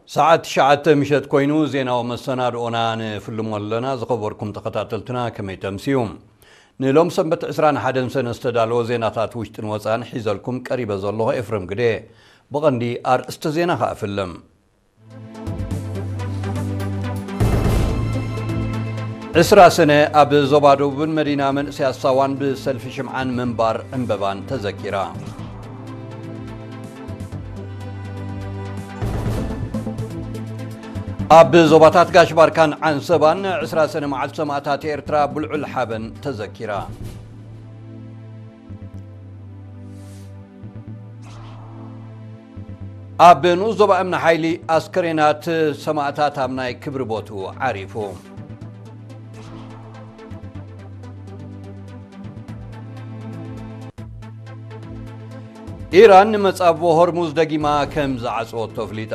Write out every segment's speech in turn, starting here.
ሰዓት ትሽዓተ ምሸት ኮይኑ ዜናዊ መሰናድኦና ንፍልሞ ኣለና። ዝኸበርኩም ተኸታተልትና ከመይ ተምስዩ? ንሎም ሰንበት ዕስራን ሓደን ሰነ ዝተዳለወ ዜናታት ውሽጥን ወፃን ሒዘልኩም ቀሪበ ዘለኹ ኤፍረም ግደ። ብቐንዲ ኣርእስተ ዜና ከኣ ፍልም። ዕስራ ሰነ ኣብ ዞባ ደቡብን መዲና መንእሰያት ሳዋን ብሰልፊ ሽምዓን ምንባር ዕምበባን ተዘኪራ። ኣብ ዞባታት ጋሽ ባርካን ዓንሰባን ዕስራ ሰነ መዓልቲ ሰማእታት ኤርትራ ብልዑል ሓበን ተዘኪራ። ኣብ ንኡስ ዞባ እምኒ ሓይሊ ኣስከሬናት ሰማእታት ኣብ ናይ ክብሪ ቦትኡ ዓሪፉ። ኢራን ንመጻብቦ ሆርሙዝ ደጊማ ከም ዝዓጽወቶ ኣፍሊጣ።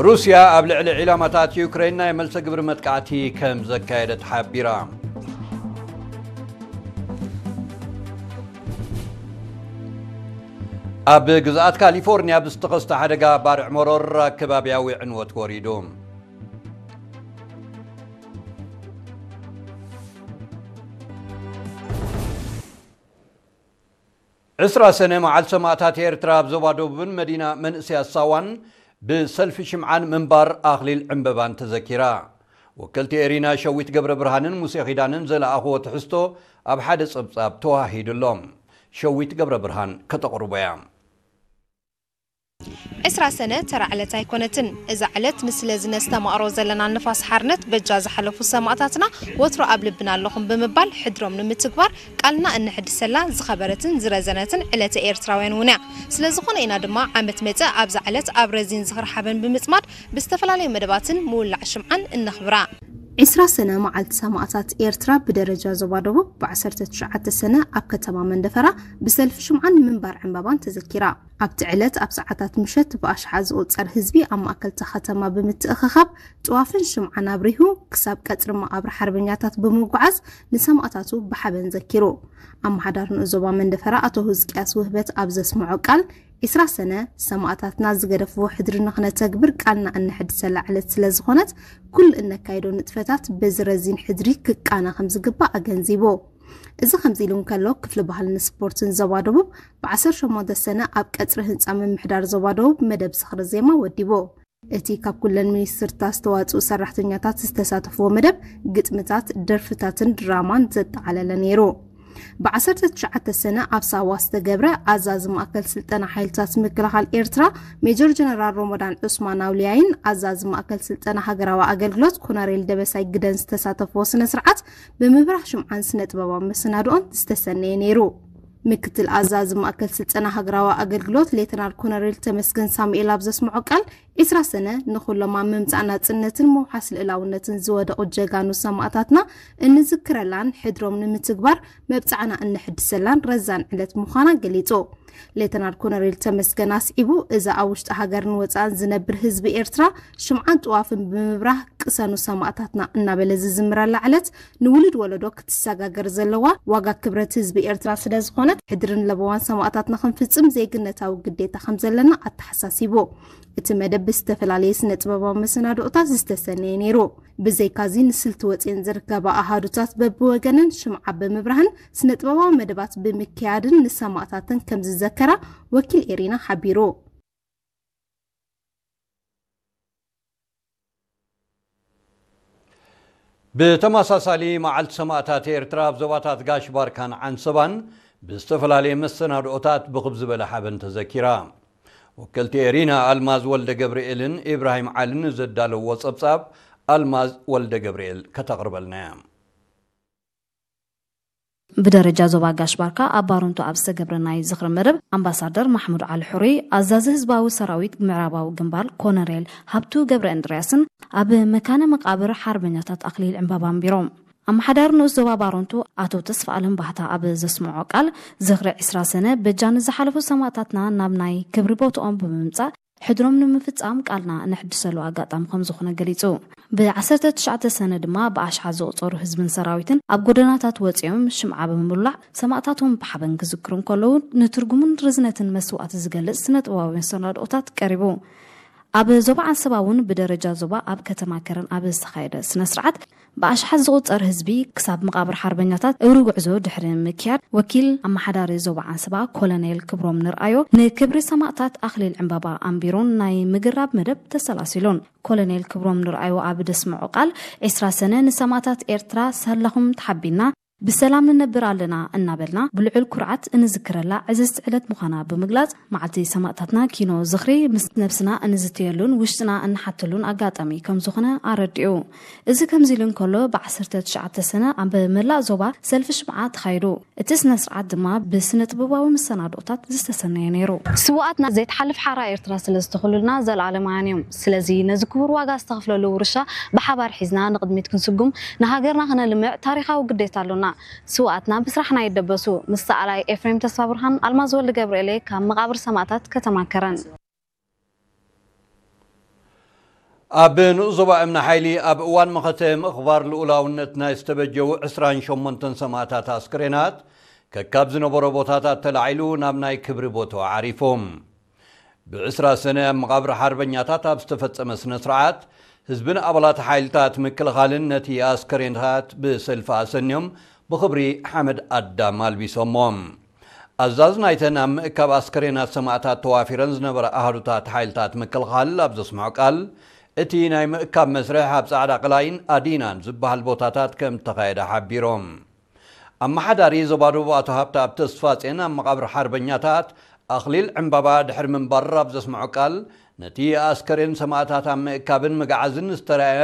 ሩስያ ኣብ ልዕሊ ዒላማታት ዩክሬን ናይ መልሰ ግብሪ መጥቃዕቲ ከም ዘካየደት ሓቢራ። ኣብ ግዝኣት ካሊፎርኒያ ብዝተኸስተ ሓደጋ ባርዕ መሮር ኣከባብያዊ ዕንወት ወሪዱ። ዕስራ ሰነ መዓልቲ ሰማእታት ኤርትራ ኣብ ዞባ ደቡብን መዲና መንእሰያት ሳዋን ብሰልፊ ሽምዓን ምንባር ኣኽሊል ዕምበባን ተዘኪራ። ወከልቲ ኤሪና ሸዊት ገብረ ብርሃንን ሙሴ ኺዳንን ዘለኣኽዎ ትሕዝቶ ኣብ ሓደ ጸብጻብ ተዋሂዱሎም። ሸዊት ገብረ ብርሃን ከተቕርቦ እያ። ዕስራ ሰነ ተራ ዕለት ኣይኮነትን። እዛ ዕለት ንስለ ዝነስተማቕሮ ዘለና ንፋስ ሓርነት በጃ ዝሓለፉ ሰማእታትና ወትሮ ኣብ ልብና ኣለኹም ብምባል ሕድሮም ንምትግባር ቃልና እነሐድሰላ ዝኸበረትን ዝረዘነትን ዕለተ ኤርትራውያን እውን እያ። ስለ ዝኾነ ኢና ድማ ዓመት መጸ ኣብዛ ዕለት ኣብ ረዚን ዝኽሪ ሓበን ብምጽማድ ብዝተፈላለዩ መደባትን ምውላዕ ሽምዓን እነኽብራ። ዕስራ ሰነ መዓልቲ ሰማእታት ኤርትራ ብደረጃ ዞባ ደቡብ ብ ዓሰርተ ትሽዓተ ሰነ ኣብ ከተማ መንደፈራ ብሰልፊ ሽምዓን ምንባር ዕምባባን ተዘኪራ። ኣብቲ ዕለት ኣብ ሰዓታት ምሸት ብኣሽሓት ዝቑጸር ህዝቢ ኣብ ማእከል እታ ከተማ ብምትእኽኻብ ጥዋፍን ሽምዓን ኣብሪሁ ክሳብ ቀጽሪ መቓብር ሓርበኛታት ብምጉዓዝ ንሰማእታቱ ብሓበን ዘኪሩ። ኣመሓዳሪ ንኡስ ዞባ መንደፈራ ኣቶ ህዝቅያስ ውህበት ኣብ ዘስምዖ ቃል፣ ዕስራ ሰነ ሰማእታትና ዝገደፍዎ ሕድሪ ንኽነተግብር ቃልና እነሐድሰላ ዕለት ስለ ዝኾነት ኩሉ እነካይዶ ንጥፈታት በዚ ረዚን ሕድሪ ክቃነ ከም ዝግባእ ኣገንዚቡ። እዚ ከምዚ ኢሉ እንከሎ ክፍሊ ባህልን ስፖርትን ዞባ ደቡብ ብ ዓሰርተ ሸሞንተ ሰነ ኣብ ቀጽሪ ህንጻ ምምሕዳር ዞባ ደቡብ መደብ ዝኽሪ ዜማ ወዲቡ። እቲ ካብ ኩለን ሚኒስትርታት ዝተዋጽኡ ሰራሕተኛታት ዝተሳተፍዎ መደብ ግጥምታት፣ ደርፍታትን ድራማን ዘጠቓለለ ነይሩ። ብ ዓሰርተ ትሽዓተ ሰነ ኣብ ሳዋ ዝተገብረ ኣዛዚ ማእከል ስልጠና ሓይልታት ምክልኻል ኤርትራ ሜጀር ጀነራል ሮሞዳን ዑስማን ኣውልያይን ኣዛዚ ማእከል ስልጠና ሃገራዊ ኣገልግሎት ኮነሬል ደበሳይ ግደን ዝተሳተፍዎ ስነ ስርዓት ብምብራህ ሽምዓን ስነ ጥበባዊ መሰናድኦን ዝተሰነየ ነይሩ። ምክትል ኣዛዚ ማእከል ስልጠና ሃገራዊ ኣገልግሎት ሌተናል ኮነሬል ተመስገን ሳሙኤል ኣብ ዘስምዖ ቃል፣ ዕስራ ሰነ ንኹሎም ኣብ ምምጻእ ናጽነትን ምውሓስ ልእላውነትን ዝወደቑ ጀጋኑ ሰማእታትና እንዝክረላን ሕድሮም ንምትግባር መብጽዓና እነሕድሰላን ረዛን ዕለት ምዃና ገሊጹ። ሌተናል ኮነሬል ተመስገን ኣስዒቡ፣ እዛ ኣብ ውሽጢ ሃገርን ወጻእን ዝነብር ህዝቢ ኤርትራ ሽምዓን ጥዋፍን ብምብራህ ቅሰኑ ሰማእታትና እናበለ ዝዝምረላ ዕለት ንውሉድ ወለዶ ክትሰጋገር ዘለዋ ዋጋ ክብረት ህዝቢ ኤርትራ ስለ ዝኾነት፣ ሕድርን ለበዋን ሰማእታትና ክንፍጽም ዜግነታዊ ግዴታ ከም ዘለና ኣተሓሳሲቡ። እቲ መደብ ብዝተፈላለየ ስነ ጥበባዊ መሰናድኦታት ዝተሰነየ ነይሩ። ብዘይካዚ ንስልቲ ወጺኤን ዝርከባ ኣሃዱታት በብወገነን ሽምዓ ብምብራህን ስነ ጥበባዊ መደባት ብምክያድን ንሰማእታተን ከም ዝዘከራ ወኪል ኤሪና ሓቢሩ። ብተመሳሳሊ መዓልቲ ሰማእታት ኤርትራ ኣብ ዞባታት ጋሽ ባርካን ዓንሰባን ብዝተፈላለየ መሰናድኦታት ብኽብ ዝበለ ሓበን ተዘኪራ። ወከልቲ ኤሪና ኣልማዝ ወልደ ገብርኤልን ኢብራሂም ዓልን ዘዳለውዎ ጸብጻብ ኣልማዝ ወልደ ገብርኤል ከተቕርበልና እያ። ብደረጃ ዞባ ጋሽ ባርካ ኣብ ባረንቱ ኣብ ዝተገብረ ናይ ዝኽሪ መደብ ኣምባሳደር ማሕሙድ ዓሊ ሕሩይ፣ ኣዛዚ ህዝባዊ ሰራዊት ምዕራባዊ ግንባር ኮነሬል ሃብቱ ገብረ እንድርያስን ኣብ መካነ መቃብር ሓርበኛታት ኣኽሊል ዕምባባ ኣንቢሮም። ኣመሓዳሪ ንኡስ ዞባ ባረንቱ ኣቶ ተስፋኣለም ባህታ ኣብ ዘስምዖ ቃል፣ ዝኽሪ ዕስራ ሰነ በጃ ንዝሓለፉ ሰማእታትና ናብ ናይ ክብሪ ቦትኦም ብምምጻእ ሕድሮም ንምፍጻም ቃልና እነሕድሰሉ ኣጋጣሚ ከም ዝኾነ ገሊጹ። ብ19 ሰነ ድማ ብኣሽሓት ዝቑጸሩ ህዝብን ሰራዊትን ኣብ ጎደናታት ወጺኦም ሽምዓ ብምውላዕ ሰማእታቶም ብሓበን ክዝክሩ እንከለዉ፣ ንትርጉምን ርዝነትን መስዋእቲ ዝገልጽ ስነ ጥበባዊ መሰናድኦታት ቀሪቡ። ኣብ ዞባ ዓንሰባ እውን ብደረጃ ዞባ ኣብ ከተማ ከረን ኣብ ዝተኻየደ ስነ ስርዓት ብኣሽሓት ዝቑጸር ህዝቢ ክሳብ መቓብር ሓርበኛታት እግሪ ጉዕዞ ድሕሪ ምክያድ፣ ወኪል ኣመሓዳሪ ዞባ ዓንሰባ ኮሎኔል ክብሮም ንርኣዮ ንክብሪ ሰማእታት ኣኽሊል ዕምባባ ኣንቢሩን ናይ ምግራብ መደብ ተሰላሲሉን። ኮሎኔል ክብሮም ንርኣዮ ኣብ ደስምዖ ቃል፣ "20 ሰነ ንሰማእታት ኤርትራ ሳላኹም ተሓቢና ብሰላም ንነብር ኣለና" እናበልና ብልዑል ኩርዓት እንዝክረላ ዕዝዝቲ ዕለት ምዃና ብምግላጽ፣ መዓልቲ ሰማእታትና ኪኖ ዝኽሪ ምስ ነብስና እንዝትየሉን ውሽጥና እንሓተሉን ኣጋጣሚ ከም ዝኾነ ኣረዲኡ። እዚ ከምዚ ኢሉ እንከሎ፣ ብ19 ሰነ ኣብ መላእ ዞባ ሰልፊ ሽምዓ ተኻይዱ። እቲ ስነ ስርዓት ድማ ብስነ ጥበባዊ መሰናድኦታት ዝተሰነየ ነይሩ። ስውኣትና ዘይትሓልፍ ሓራ ኤርትራ ስለ ዝተኽሉልና፣ ዘለኣለማውያን እዮም። ስለዚ ነዚ ክቡር ዋጋ ዝተኸፍለሉ ውርሻ ብሓባር ሒዝና ንቕድሚት ክንስጉም፣ ንሃገርና ክነልምዕ ታሪኻዊ ግዴታ ኣሎና። ስውኣትና ብስራሕና ይደበሱ። ምስ ሰኣላይ ኤፍሬም ተስፋ ብርሃን፣ ኣልማዝ ወልደ ገብርኤል እየ ካብ መቓብር ሰማእታት ከተማ ከረን። ኣብ ንኡስ ዞባ እምኒ ሓይሊ ኣብ እዋን መኸተ ምኽባር ልኡላውነት ናይ ዝተበጀዉ 28 ሰማእታት ኣስክሬናት ከካብ ዝነበሮ ቦታታት ተላዒሉ ናብ ናይ ክብሪ ቦታኡ ዓሪፎም። ብ20 ሰነ ኣብ መቓብር ሓርበኛታት ኣብ ዝተፈጸመ ስነ ስርዓት፣ ህዝብን ኣባላት ሓይልታት ምክልኻልን ነቲ ኣስከሬንታት ብሰልፊ ኣሰንዮም ብኽብሪ ሓመድ ኣዳም ኣልቢሶሞም። ኣዛዝ ናይተን ኣብ ምእካብ ኣስከሬናት ሰማእታት ተዋፊረን ዝነበረ ኣሃዱታት ሓይልታት ምክልኻል ኣብ ዘስምዖ ቃል፣ እቲ ናይ ምእካብ መስርሕ ኣብ ጻዕዳ ቅላይን ኣዲናን ዝበሃል ቦታታት ከም እተኻየደ ሓቢሮም። ኣመሓዳሪ ዞባ ደቡብ ኣቶ ሃብተኣብ ተስፋጼን ኣብ መቓብር ሓርበኛታት ኣኽሊል ዕምባባ ድሕሪ ምንባር ኣብ ዘስምዖ ቃል፣ ነቲ ኣስከሬን ሰማእታት ኣብ ምእካብን ምግዓዝን ዝተራእየ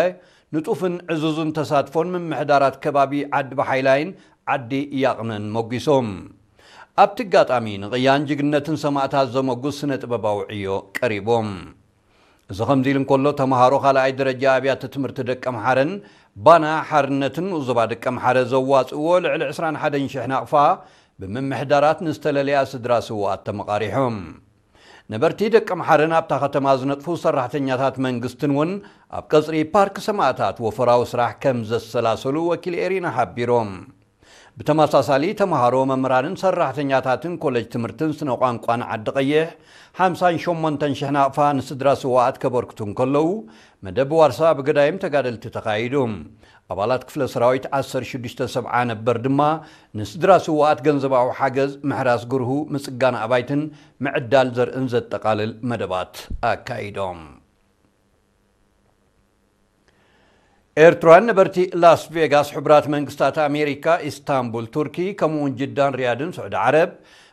ንጡፍን ዕዙዝን ተሳትፎን ምምሕዳራት ከባቢ ዓዲ ባሓይላይን ዓዲ ያቕነን ሞጒሶም። ኣብቲ ኣጋጣሚ ንቕያን ጅግንነትን ሰማእታት ዘመጉስ ስነ ጥበባዊ ዕዮ ቀሪቦም። እዚ ከምዚ ኢሉ እንከሎ፣ ተምሃሮ ካልኣይ ደረጃ ኣብያተ ትምህርቲ ደቀምሓረን ባና ሓርነትን ንኡስ ዞባ ደቀምሓረ ዘዋጽእዎ ልዕሊ 21,000 ናቕፋ ብምምሕዳራት ንዝተለለያ ስድራ ስውኣት ተመቓሪሖም። ነበርቲ ደቀምሓረን ኣብታ ከተማ ዝነጥፉ ሰራሕተኛታት መንግስትን እውን ኣብ ቀጽሪ ፓርክ ሰማእታት ወፈራዊ ስራሕ ከም ዘሰላሰሉ ወኪል ኤሪና ሓቢሮም። ብተመሳሳሊ፣ ተምሃሮ፣ መምህራንን ሰራሕተኛታትን ኮሌጅ ትምህርትን ስነ ቋንቋን ዓዲ ቀይሕ 58,000 ናቕፋ ንስድራ ስውኣት ከበርክቱ እንከለዉ፣ መደብ ዋርሳ ብገዳይም ተጋደልቲ ተኻይዱ። ኣባላት ክፍለ ሰራዊት 1670 ነበር ድማ ንስድራ ስውኣት ገንዘባዊ ሓገዝ፣ ምሕራስ ግርሁ፣ ምጽጋን ኣባይትን ምዕዳል ዘርእን ዘጠቓልል መደባት ኣካይዶም። ኤርትራውያን ነበርቲ ላስ ቬጋስ፣ ሕቡራት መንግስታት ኣሜሪካ፣ ኢስታንቡል ቱርኪ፣ ከምኡውን ጅዳን ሪያድን ስዑዲ ዓረብ፣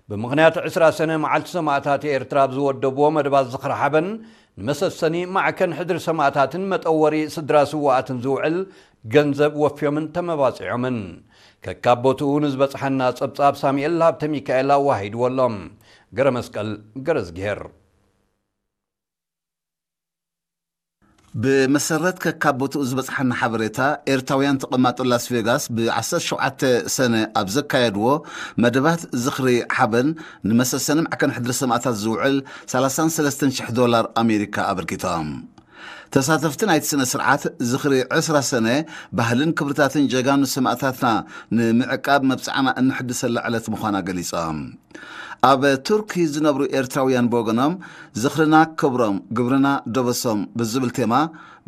ብምኽንያት 20 ሰነ መዓልቲ ሰማእታት ኤርትራ ኣብ ዝወደብዎ መደባት ዝኽሪ ሓበን፣ ንመሰሰኒ ማዕከን ሕድሪ ሰማእታትን መጠወሪ ስድራ ስውኣትን ዝውዕል ገንዘብ ወፍዮምን ተመባጺዖምን። ከካብ ቦትኡ ንዝበጽሓና ጸብጻብ ሳሙኤል ሃብተ ሚካኤል ኣዋሂድዎ ኣሎ። ገረ መስቀል ገረዝግሄር። ብመሰረት ከካብ ቦትኡ ዝበጽሓና ሓበሬታ፣ ኤርትራውያን ተቐማጦ ላስ ቬጋስ ብ17 ሰነ ኣብ ዘካየድዎ መደባት ዝኽሪ ሓበን፣ ንመሰሰኒ ማዕከን ሕድሪ ሰማእታት ዝውዕል 33,000 ዶላር ኣሜሪካ ኣበርኪቶም። ተሳተፍቲ ናይቲ ስነ ስርዓት ዝኽሪ 20 ሰነ፣ ባህልን ክብርታትን ጀጋኑ ሰማእታትና ንምዕቃብ መብጽዓና እንሕድሰላ ዕለት ምዃና ገሊጾም። ኣብ ቱርኪ ዝነብሩ ኤርትራውያን ብወገኖም፣ ዝኽርና ክብሮም፣ ግብርና ደበሶም ብዝብል ቴማ፣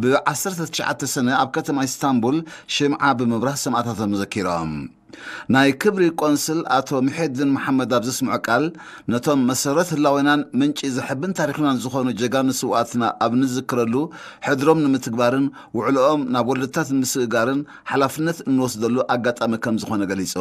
ብ19 ሰነ ኣብ ከተማ ኢስታንቡል ሽምዓ ብምብራህ ሰማእታቶም ዘኪሮም። ናይ ክብሪ ቆንስል ኣቶ ምሒድን መሓመድ ኣብ ዘስምዖ ቃል፣ ነቶም መሰረት ህላዌናን ምንጪ ዘሕብን ታሪኽናን ዝኾኑ ጀጋኑ ስውኣትና ኣብ ንዝክረሉ፣ ሕድሮም ንምትግባርን ውዕልኦም ናብ ወለዶታት ንምስግጋርን ሓላፍነት እንወስደሉ ኣጋጣሚ ከም ዝኾነ ገሊጹ።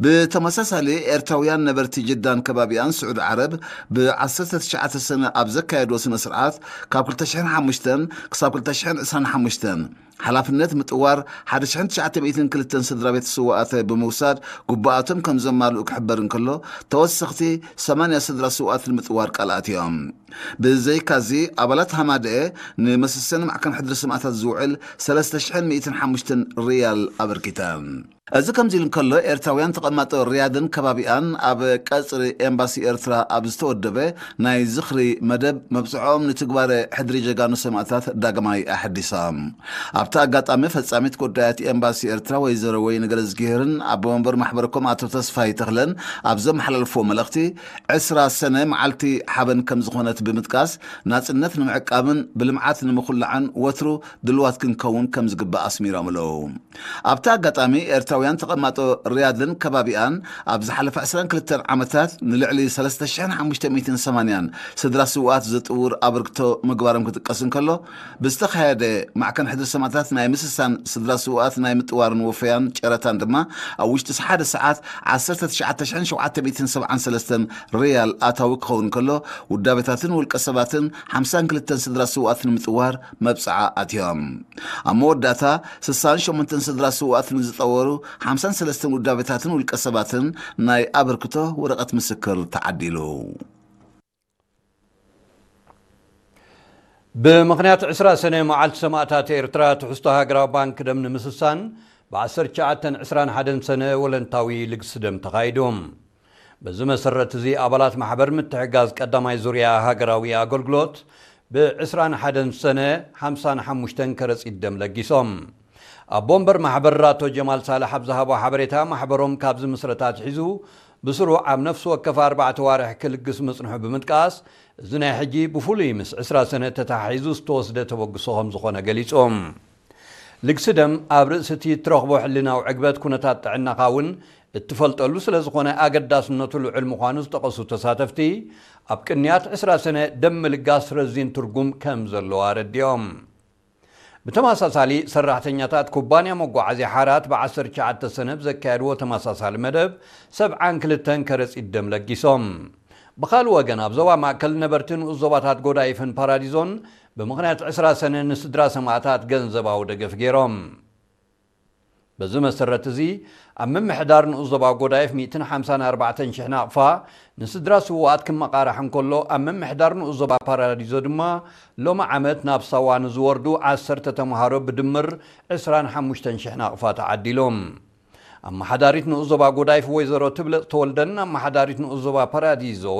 ብተመሳሳሊ፣ ኤርትራውያን ነበርቲ ጅዳን ከባቢኣን ስዑዲ ዓረብ ብ19 ሰነ ኣብ ዘካየድዎ ስነ ስርዓት፣ ካብ 2005 ክሳብ 2025 ሓላፍነት ምጥዋር 1,902 ስድራ ቤት ስውኣት ብምውሳድ፣ ግቡኣቶም ከም ዘማልኡ ክሕበር እንከሎ፣ ተወሰኽቲ 80 ስድራ ስውኣት ንምጥዋር ቃል ኣትዮም። ብዘይካዚ፣ ኣባላት ሃማደኤ ንመሰሰኒ ማዕከን ሕድሪ ሰማእታት ዝውዕል 3,105 ሪያል ኣበርኪተን። እዚ ከምዚ ኢሉ እንከሎ፣ ኤርትራውያን ተቐማጦ ሪያድን ከባቢኣን ኣብ ቀጽሪ ኤምባሲ ኤርትራ ኣብ ዝተወደበ ናይ ዝኽሪ መደብ፣ መብጽዖም ንትግባረ ሕድሪ ጀጋኑ ሰማእታት ዳግማይ ኣሐዲሶም። ኣብቲ ኣጋጣሚ፣ ፈጻሚት ጉዳያት ኤምባሲ ኤርትራ ወይዘሮ ወይኒ ገለዝጊሄርን ኣቦ መንበር ማሕበርኩም ኣቶ ተስፋይ ተኽለን ኣብ ዘመሓላልፍዎ መልእኽቲ፣ ዕስራ ሰነ መዓልቲ ሓበን ከም ዝኾነት ብምጥቃስ፣ ናጽነት ንምዕቃብን ብልምዓት ንምኹላዕን ወትሩ ድልዋት ክንከውን ከም ዝግባእ ኣስሚሮም ኣለዉ። ኣብቲ ኣጋጣሚ፣ ኤርትራውያን ተቐማጦ ሪያድን ከባቢኣን ኣብ ዝሓለፈ ዕስራን ክልተን ዓመታት ንልዕሊ ሰለስተ ሽሕን ሓሙሽተ ሚእትን ሰማንያን ስድራ ስውኣት ዘጥውር ኣበርክቶ ምግባሮም ክጥቀስ እንከሎ፣ ብዝተኻየደ ማዕከን ሕድሪ ሰማእታት ናይ ምስሳን ስድራ ስውኣት ናይ ምጥዋርን ወፈያን ጨረታን ድማ፣ ኣብ ውሽጢ ሓደ ሰዓት ዓሰርተ ትሽዓተ ሽሕን ሸውዓተ ሚእትን ሰብዓን ሰለስተን ሪያል ኣታዊ ክኸውን እንከሎ፣ ውዳቤታትን ውልቀ ሰባትን ሓምሳን ክልተን ስድራ ስውኣት ንምጥዋር መብጽዓ ኣትዮም። ኣብ መወዳእታ፣ ስሳን ሸሞንተን ስድራ ስውኣት ንዝጠወሩ ሓምሳን ሰለስተን ውዳቤታትን ውልቀ ሰባትን ናይ ኣበርክቶ ወረቐት ምስክር ተዓዲሉ። ብምኽንያት ዕስራ ሰነ መዓልቲ ሰማእታት ኤርትራ፣ ትሕዝቶ ሃገራዊ ባንክ ደም ንምስሳን፣ ብ ዓሰርተ ትሽዓተን ዕስራን ሓደን ሰነ ወለንታዊ ልግሲ ደም ተኻይዱ። በዚ መሰረት እዚ፣ ኣባላት ማሕበር ምትሕጋዝ ቀዳማይ ዙርያ ሃገራዊ ኣገልግሎት፣ ብ ዕስራን ሓደን ሰነ ሓምሳን ሓሙሽተን ከረጺት ደም ለጊሶም። ኣቦ ወንበር ማሕበር ኣቶ ጀማል ሳልሕ ኣብ ዝሃቦ ሓበሬታ፣ ማሕበሮም ካብ ዝምስረት ኣትሒዙ ብስሩዕ ኣብ ነፍሲ ወከፍ ኣርባዕተ ዋርሕ ክልግስ ምጽንሑ ብምጥቃስ፣ እዚ ናይ ሕጂ ብፍሉይ ምስ ዕስራ ሰነ ተተሓሒዙ ዝተወስደ ተበግሶ ከም ዝኾነ ገሊጹ። ልግሲ ደም ኣብ ርእሲ እቲ እትረኽቦ ሕልናዊ ዕግበት፣ ኩነታት ጥዕናኻ እውን እትፈልጠሉ ስለ ዝኾነ፣ ኣገዳስነቱ ልዑል ምዃኑ ዝጠቐሱ ተሳተፍቲ፣ ኣብ ቅንያት ዕስራ ሰነ ደም ምልጋስ ረዚን ትርጉም ከም ዘለዎ ኣረዲኦም። ብተመሳሳሊ፣ ሰራሕተኛታት ኩባንያ መጓዓዝያ ሓራት ብ ዓሰርተ ትሽዓተ ሰነ ብዘካየድዎ ተመሳሳሊ መደብ፣ ሰብዓን ክልተን ከረጺት ደም ለጊሶም። ብኻልእ ወገን፣ ኣብ ዞባ ማእከል ነበርቲ ንኡስ ዞባታት ጎዳይፍን ፓራዲዞን፣ ብምኽንያት ዕስራ ሰነ ንስድራ ሰማእታት ገንዘባዊ ደገፍ ገይሮም። በዚ መሰረት እዚ፣ ኣብ ምምሕዳር ንኡስ ዞባ ጎዳይፍ ሚእትን ሓምሳን ኣርባዕተን ሽሕ ናቕፋ፣ ንስድራ ስውኣት ክመቓራሕ እንከሎ፣ ኣብ ምምሕዳር ንኡስ ዞባ ፓራዲዞ ድማ፣ ሎሚ ዓመት ናብ ሳዋ ንዝወርዱ ዓሰርተ ተምሃሮ ብድምር ዕስራን ሓሙሽተን ሽሕ ናቕፋ ተዓዲሎም። ኣመሓዳሪት ንኡስ ዞባ ጎዳይፍ ወይዘሮ ትብለጽ ተወልደን ኣመሓዳሪት ንኡስ ዞባ ፓራዲዞ